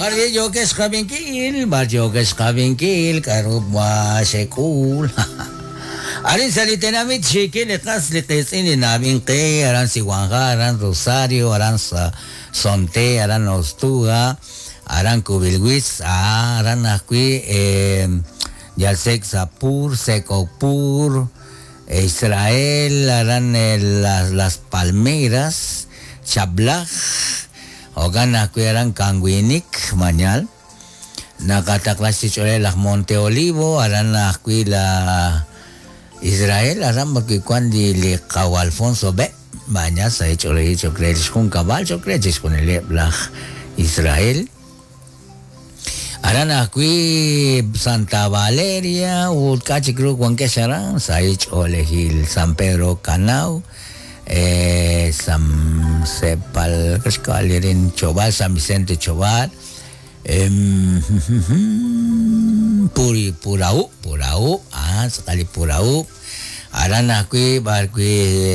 B'ar yookex xqab'inkil, b'ar yookex xqab'inkil, k'a'ru wa xek'ul. Arin sa' li tenamit xiikil li qas li qiitz'in li na'ab'ink qe, aran Siwanja, aran Rosario, aran Sonte, aran Ostuga, aran Kubilwitz, aran ajwi' Yalsek Sapur, Sekopur, Israel, aran Las Palmeiras, Chablaj, jo'kan ajwi' aran Kanwinik, Mañal. Naqataqla xch'oolej laj Monte Olivo, aran ajwi' la Israel, aran b'arwi' wan li qaw Alfonso B. Mañal sa' xch'oolej choq' re li xjunkab'al, choq' re chixjunileb' laj Israel. Aran ajwi' Santa Valeria ut k'a' chik ru wankex aran sa' xch'oolejil San Pedro Canau, San Sepal, xk'alirin Chobal, San Vicente Chobal, Puri Purau, Purau, tz'aqal li Purau. Aran ajwi' b'arwi'